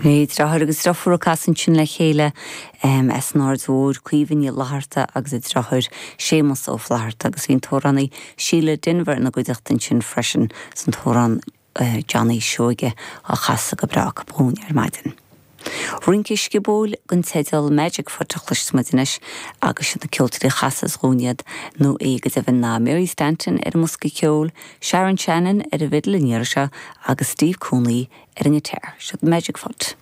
Sin é, deartháir agus deirfiúr ag casadh ansin le chéile as an Aird Mhóir, Caoimhe Ní Fhlatharta agus a deartháir Séamus Ó Flatharta agus bhí an t-amhránaí Síle Denvir ina gcuideachta ansin freisin is an t-amhrán Johnny Seoige á chasadh go breá acu dhúinn ar maidin. Rince sciobóil den teideal Magic Foot a chloisfeas muid anois agus siad na ceoltóirí a chasas dhúinn iad, nó é go deimhin, ná Mary Stanton ar an mbosca ceoil, Sharon Shannon ar an bhfidil an iarraidh seo agus Steve Cooney ar an ngiotár. Siod Magic Foot.